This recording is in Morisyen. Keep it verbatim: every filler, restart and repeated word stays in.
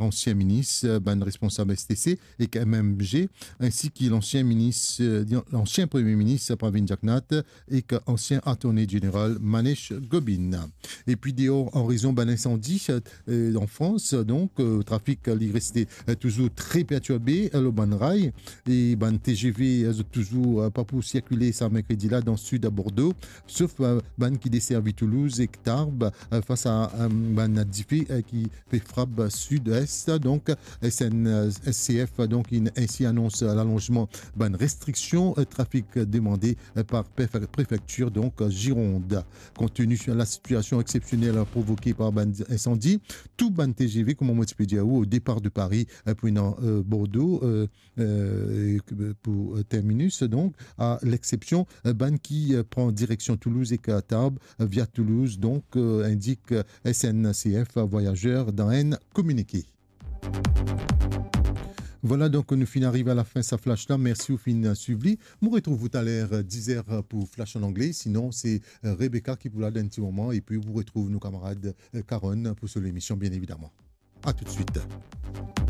ansien minis, bann responsab S T C ek M M G, ainsi ki l'ancien ministre, euh, l'ancien Premier ministre Pravind Jugnauth ek ansien Attorney General Manesh Gobin. Epi deor, an rezon bann insandi, euh, an Frans, donk, euh, trafik li reste, euh, touzour tre pertirbe, euh, lor bann ray, e bann T G V, euh, zot touzour, euh, pa pou sirkile sa merkredi la dan sid Bordeaux, sof, euh, bann ki deservi Toulouse ek Tarbes, euh, fas a, euh, bann dife, euh, ki pe frap sid-est. Donk, S N C F, donk, inn ainsi anons lalonzman bann restriksion, euh, trafik demande, euh, par pref-, prefektir, donk, euh, Gironde. Kont tini lasitiasion exsepsionel provoke par bann insandi, tou bann T G V, kouma mo ti pe dir ou, o depar de Paris, euh, pou inn, euh, Bordeaux, euh, euh, e, euh, pou, euh, terminus, donk, a lexsepsion, euh, bann ki, euh, pran direksion Toulouse ek, euh, Tarbes, euh, via Toulouse, donk, euh, indik, euh, S N C F Voyageurs dan enn kominike. Vwala, donk, nou finn ariv a lafin sa flash la. Mersi ou finn swiv li. Mo retrouv ou taler, euh, diz er pou flash an angle. Sinon, se, euh, Rebecca ki pou la dan enn ti moman. Epi ou retrouv nou kamarad, euh, Karonn pou so lemision, bien evidaman. A toutswit.